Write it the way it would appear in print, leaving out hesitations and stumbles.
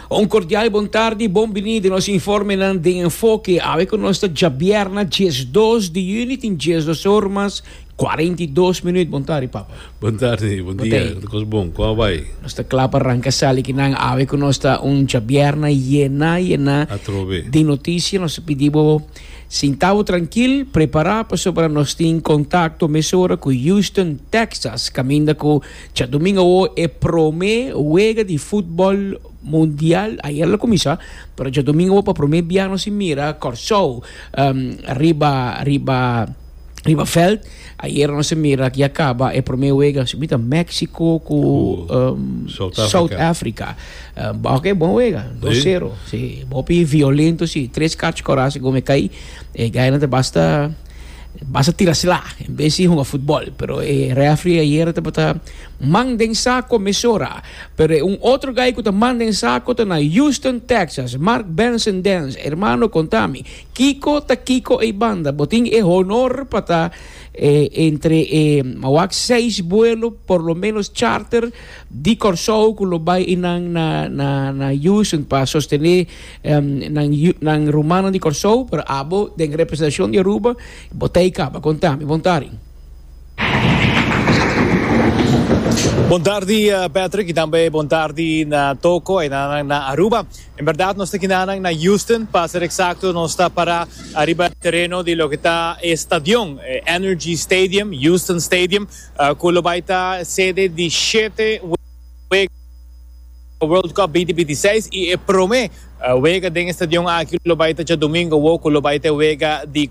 Un cordial bon tardi, bon bini den nos informenan den Enfoke. Awe cu nos ta djabierna 12 di juni, tin 12 or mas 42 minuut. Bon tardi, papa. Bon tardi, bon dia. Bon Cos bon, con a bay? Nos ta cla pa ranca sali kinan. Awe cu nos ta un djabierna yena, yena Atrobe. di noticia. Nos ta pidi bo sinta bo trankil, prepara pasobra nos tin contacto mesora cu Houston, Texas, caminda cu Djadumingo awo e prome wega di futbol mundial ayer lo cuminsa, pero djadumingo awo pa prome bia nos tin mira Corsou riba riba riba veld. Ayer nos a mira ya caba e prome wega si mi ta Mexico cu South Africa. Ok bon wega, dos sero. Si, hopi violento si, tres kachi kora segun mi kai e gainan ta basta. Basta tira sla en bes di hunga futbol. Pero e refri ayera tabata man den saco mesora. Pero e un otro guy cu ta man den saco ta na Houston, Texas. Mark Benson Dance, hermano contami, kico ta kico ey banda? Bo tin e honor pa ta entre e mawak seis buelo por lo menos charter di Corsou cu lo bay eynan na na na Houston pa sostene Nan yu, nan rumannan di Kòrsou, pero abo den representashon di Aruba, bo ta ei kaba. Konta mi. Bon tardi. Bon tardi Patrick y tambe bon tardi na Toko y na na Aruba. En berdad nos ta kinanan na Houston, pa ser exacto nos ta para ariba tereno di loke ta e stadion, Energy Stadium, Houston Stadium, cu lo bay ta sede di shete wega. World Cup 2026 y e prome wega den e stadion aki lo bay ta djadomingo awo cu lo bay ta e wega di.